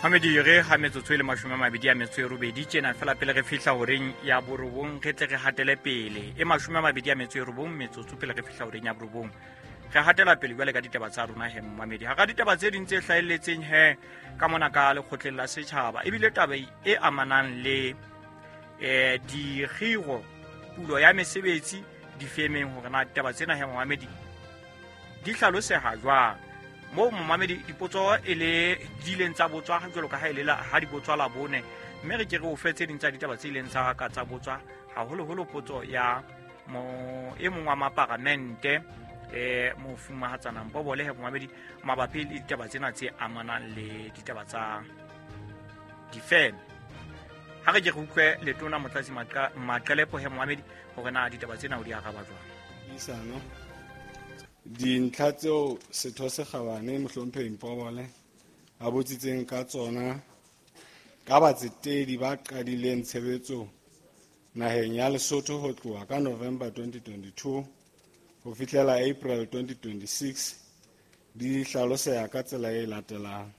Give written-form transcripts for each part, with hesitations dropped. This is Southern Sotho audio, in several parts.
Mamedi re ga metsotso e le 28 tjena fela pele re fihla horeng ya borobong, re tle re hatele pele e 29 metsotso pele re fihla horeng ya borobong. Re hatela pele jwale ka ditaba tsa rona he momamedi. Hara ditaba tse ding tse hlahelletseng he ka mona ka lekgotleng la setjhaba, ebile taba e amanang le dikgiro, pulo ya mesebetsi difemeng, hore na ditaba tsena he momamedi di hlaloseha jwang. Moo momamedi dipotso e le di ileng tsa botswa jwalo ka ha e le ha di botswa la bone, mme re ke re o fe tse ding tsa ditaba tse ileng tsa ka tsa botswa, haholoholo potso ya mo e mong wa maparamente mofumahatsana Mpobole he momamedi mabapi le ditaba tsena tse amanang le ditaba tsa difeme. Ha re ke re utlwe letona Motlatsi Maqelepo he momamedi hore na ditaba tsena o di araba jwang. Puisano dintlha tseo setho se kgabane mohlomphehi Mpobole a botsitseng ka tsona ka batsetedi ba qadileng tshebetso naheng ya Lesotho ho tloha ka November 2022 ho fihlela April 2026 di hlaloseha ka tsela e latelang.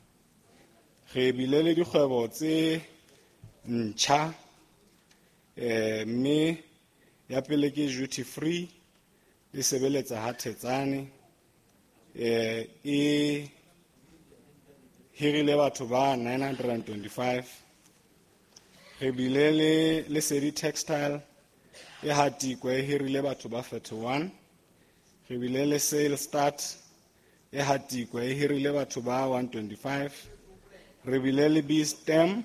Re bile le dikgwebo tse ntjha, mme ya pele ke duty free e sebeletsa ha Thetsane, e hirile batho ba 925. Re bile le Lesedi Textile e Hatikwe, e hirile batho ba 41. Re bile le Sale Start e Hatikwe, e hirile batho ba 125. Re bile le B-Stem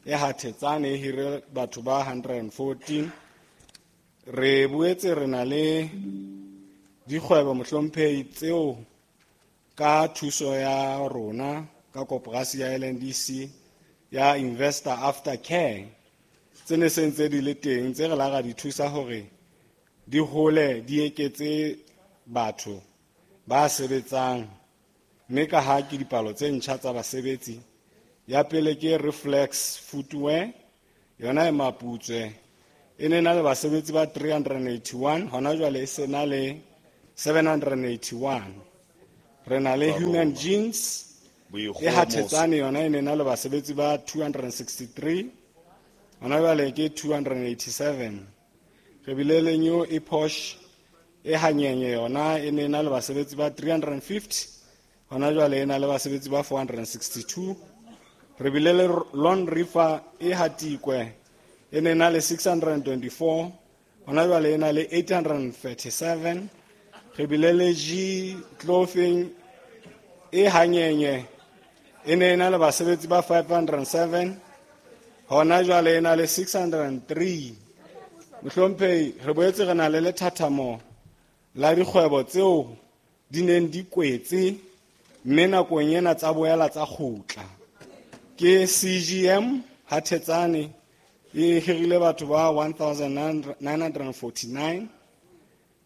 e Hathetsane, e hirile batho ba 114. Re boetse re na le dikgwebo mohlomphehi tseo ka thuso ya rona ka koporasi ya LNDC ya Investor Aftercare tse ne se ntse di le teng, tse re la ra di thusa hore di hole, di eketse batho ba sebetsang. Mme ka ha ke dipalo tse ntjha tsa basebetsi, ya pele ke Reflex Footwear, yona e Maputswe, e ne na le basebetsi ba 381, hona jwale e se na le 781. Re na le Human Jeans e Hathetsane, yona e ne na le basebetsi ba 263, hona jwale ke 287. Re bile le New Epoch e Hanyenye, yona e ne na le basebetsi ba 350, hona jwale e na le basebetsi ba 462. Re bile le Lone River e Hatikwe, e ne na le 624, hona jwale e na le 837. Re bile le G Clothing e Hanyenye, e ne na le basebetsi ba 507, hona jwale e na le 603. Mohlomphehi, re boetse re na le lethathamo la dikgwebo tseo di neng di kwetse mme nakong ena tsa boela tsa kgutla. Ke CGM Hathetsane e hirile batho ba 1949.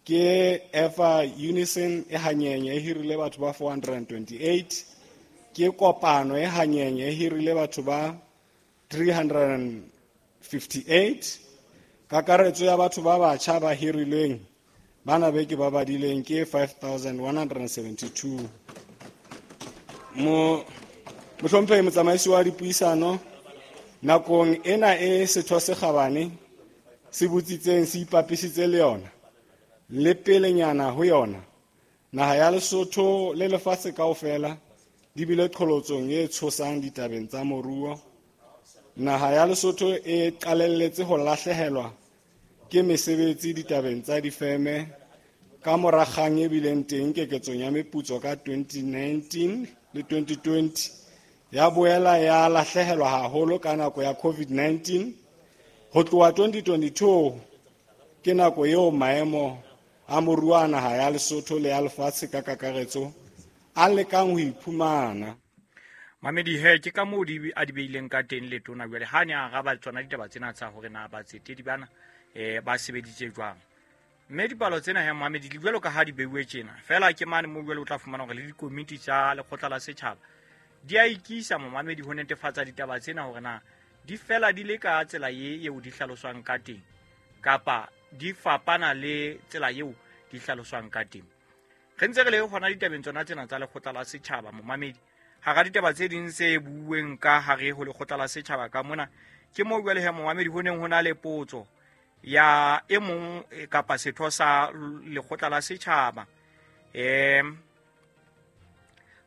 Ke Efa Unison e Hanyenye e hirile batho ba 428. Ke Kopano e Hanyenye e hirile batho ba 358. Kakaretso ya batho ba batjha ba hirilweng bana be ke ba badileng ke 5172. Mohlomphehi motsamaisi wa dipuisano, nakong ena e setho se kgabane se botsitseng se ipapisitse le yona le pelenyana ho yona, naha ya Lesotho le lefatshe kaofela di bile qholotsong e tshosang ditabeng tsa moruo. Naha ya Lesotho e qalelletse ho lahlehelwa ke mesebetsi ditabeng tsa difeme ka mora kgang e bileng teng keketsong ya meputso ka 2019 le 2020, ya boela ya lahlehelwa haholo ka nako ya COVID-19. Ho tloha 2022 ke nako eo maemo a moruo a naha ya Lesotho le ya lefatshe ka kakaretso a lekang ho iphumana. Mamedi he ke ka moo di a di beileng ka teng letona jwale ha ne a araba tsona ditaba tsena tsa hore na batsetedi bana ba sebeditse jwang. Mme dipalo tsena he Mamedi di jwalo ka ha di beuwe tjena fela ke mane moo jwale o tla fumana hore le dikomiti tsa lekgotla la setjhaba di a ikisa momamedi ho netefatsa ditaba tsena hore na di fela di le ka tsela ye eo di hlaloswang ka teng kapa di fapana le tsela eo di hlaloswang ka teng. Re ntse re le hona ditabeng tsona tsena tsa lekgotla la setjhaba momamedi. Hara ditaba tse ding tse buuweng ka hare ho lekgotla la setjhaba ka mona, ke moo jwale he momamedi ho neng ho na le potso ya e mong kapa setho sa lekgotla la setjhaba,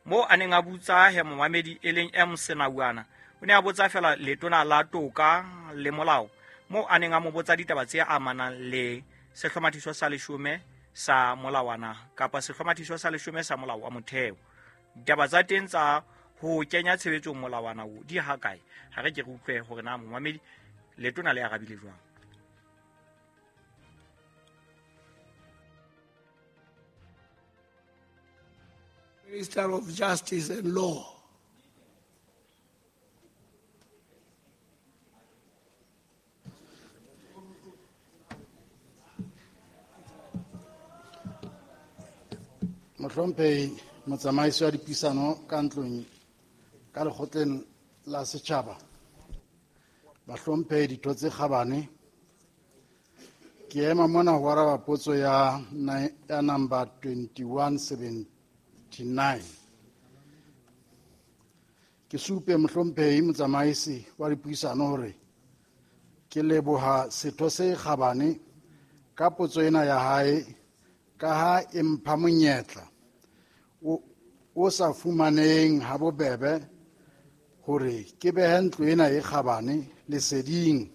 mo a neng a botsa he momamedi e leng M Senauana, o ne a botsa fela letona la toka le molao, mo a neng a mo botsa ditaba tse amanang le sehlomathiso sa 10 sa molawana kapa sehlomathiso sa 10 sa molao wa motheo. Ditaba tsa teng tsa ho kenya tshebetsong molawana o di ha kae? Ha re ke re utlwe hore na momamedi letona le arabile jwang. Minister of Justice and Law. Mohlomphehi motsamaisi wa dipuisano ka ntlong ka lekgotleng la setjhaba, bahlomphehi ditho tse kgabane, ke ema mona ho araba potso ya number 2179. Ke supe mohlomphehi motsamaisi wa dipuisano hore ke leboha setho se kgabane ka potso ena ya hae, ka ha e mpha monyetla o sa fumaneng ha bobebe hore ke behe ntlo ena e kgabane leseding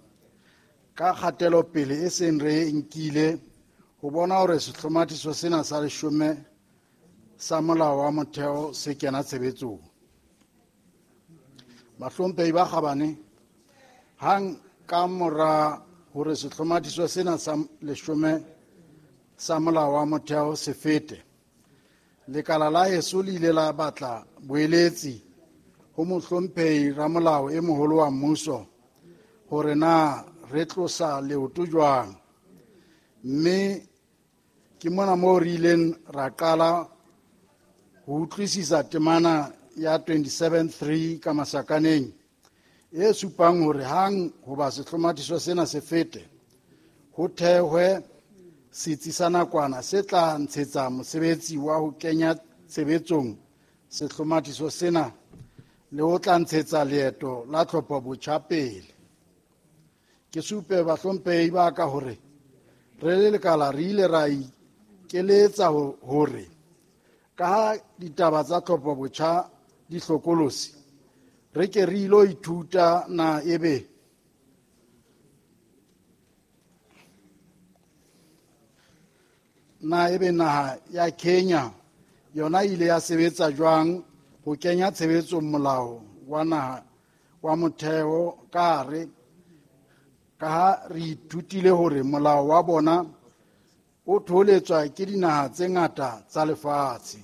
ka kgatelopele e seng re e nkile ho bona hore sehlomathiso sena sa 10 sa molao wa motheo se kena tshebetsong. Bahlomphehi ba kgabane, hang ka mora hore sehlomathiso sena sa 10 sa molao wa motheo se fete, lekala la heso le ile la batla boeletsi ho mohlomphehi ramolao e moholo wa mmuso hore na re tlosa leoto jwang, mme ke mona moo re ileng ra qala ho utlwisisa temana ya 27.3 ka masakaneng e supang hore hang hoba sehlomathiso sena se fete, ho thehwe setsi sa nakwana se tla ntshetsa mosebetsi wa ho kenya tshebetsong sehlomathiso sena le ho tla ntshetsa leeto la tlhopho botjha pele. Ke supe bahlomphehi ba ka hore re le lekala re ile ra ikeletsa hore ka ha ditaba tsa tlhopho botjha di hlokolosi, re ke re ilo ithuta na ebe naha ya Kenya yona ile ya sebetsa jwang ho kenya tshebetsong molao wa naha wa motheo ka hare, ka ha re ithutile hore molao wa bona o tholetswa ke dinaha tse ngata tsa lefatshe.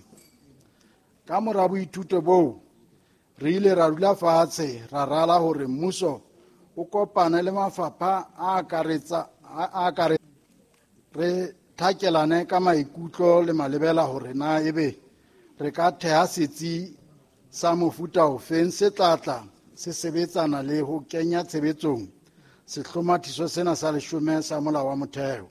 Ka mora boithuto boo, re ile ra dula fatshe ra rala hore mmuso o kopane le mafapha a akaretsa re thakelane ka maikutlo le malebela hore na ebe re ka theha setsi sa mofuta ofeng se tlatla se sebetsana le ho kenya tshebetsong sehlomathiso sena sa 10 sa molao wa motheo.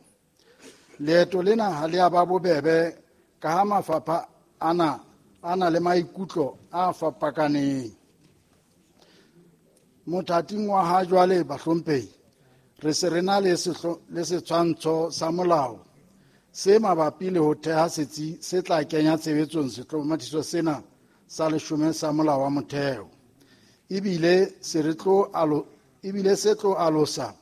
Leeto lena ha le a ba bobebe ka ha mafapha ana a na le maikutlo a fapakaneng. Mothating wa ha jwale bahlomphehi, re se re na le setshwantsho sa molao se mabapi le ho theha setsi se tla kenya tshebetsong sehlomathiso sena sa 10 sa molao wa motheo. Ebile se tlo alosa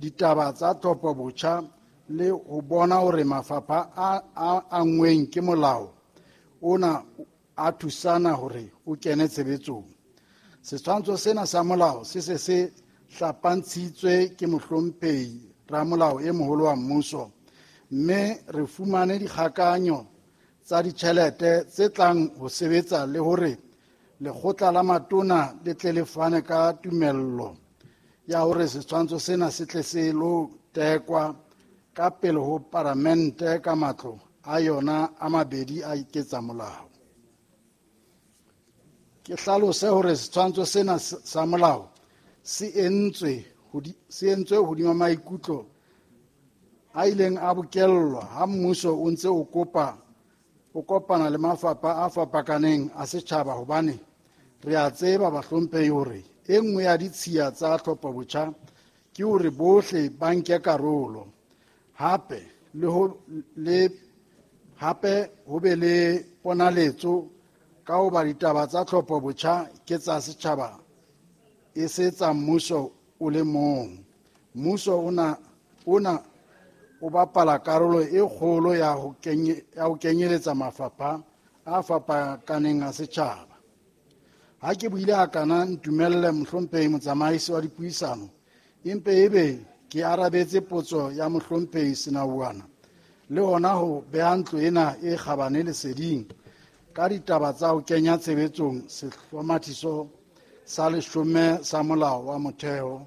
ditaba tsa tlhopho botjha le ho bona hore mafapha a angweng ke molao ona a thusana hore o kene tshebetsong. Setshwantsho sena sa molao se se se hlapantshitswe ke mohlomphehi ramolao e moholo wa mmuso, mme re fumane dikgakanyo tsa ditjhelete tse tlang ho sebetsa le hore lekgotla la matona le tle le fane ka tumello ya hore setshwantsho sena se tle se lo tekwa ka pele ho paramente ka matlo a yona a mabedi a iketsa molao. Ke hlalose hore setshwantsho sena sa molao se entswe hodima maikutlo a ileng a bokellwa ha mmuso o ntse o kopana le mafapha a fapakaneng a setjhaba, hobane Re a tseba, bahlomphehi, hore e nngwe ya ditshiya tsa tlhophobotjha ke hore bohle ba nke karolo. Hape le ho le hape ho be le ponaletso ka hoba ditaba tsa tlhophobotjha ke tsa setjhaba e se tsa mmuso o le mong. Mmuso ona o bapala karolo e kgolo ya ho kenyeletsa mafapha a fapakaneng a setjhaba. Ha ke buile hakana, ntumelle mohlomphehi motsamaisi wa dipuisano, empe ebe ke arabetse potso ya mohlomphehi Senauana le hona ho beha ntlo ena e kgabane leseding ka ditaba tsa ho kenya tshebetsong sehlomathiso sa 10 sa molao wa motheo.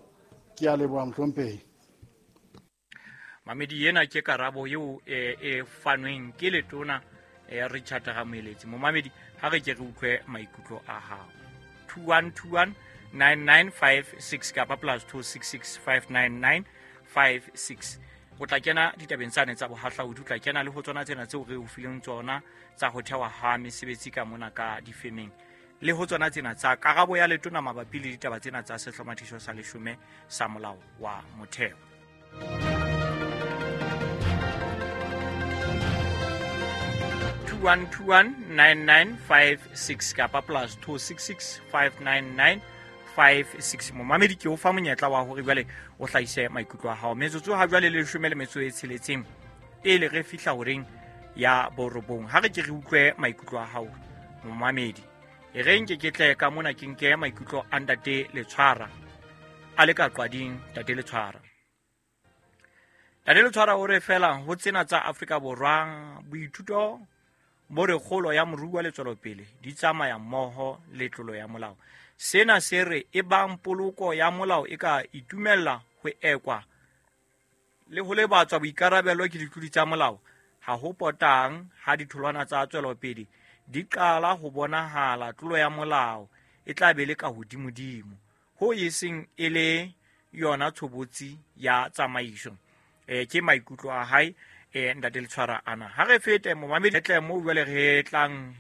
Ke a leboha mohlomphehi. Mamedi, ena ke karabo eo e fanweng ke letona Richard Ramoeletsi. Momamedi, ha re ke re utlwe maikutlo a hao. 2121 9956 kapa +266 59956. O tla kena ditabeng tsane tsa bohahlaudi, o tla kena le ho tsona tsena tseo re o fileng tsona tsa ho thewa ha mesebetsi ka mona ka difemeng, le ho tsona tsena tsa karabo ya letona mabapi le ditaba tsena tsa sehlomathiso sa 10 sa molao wa motheo. 21219956 kapa +266 59956. Momamedi, ke o fa monyetla wa hore jwale o hlahise maikutlo a hao. Metsotso ha jwale le 16 pele re fihla horeng ya 9. Ha re ke re utlwe maikutlo a hao momamedi. E re nke ke tle ka mona ke nke maikutlo a ntate Letshwara a le ka qwading. Ntate Letshwara, Ntate Letshwara o re fela ho tsena tsa Afrika Borwa boithuto bo re kgolo ya moruo le tswelopele di tsamaya mmoho le tlolo ya molao. Sena se re e bang poloko ya molao e ka itumella ho ekwa le ho lebatswa boikarabelo ke ditlodi tsa molao, ha ho potang ha ditholwana tsa tswelopele di qala ho bonahala, tlolo ya molao e tla be le ka hodimodimo ho e seng e le yona tshobotsi ya tsamaiso. Ke maikutlo a hae ntate Letshwara ana. Ha re fete momamedi, tle mo jwale re tlang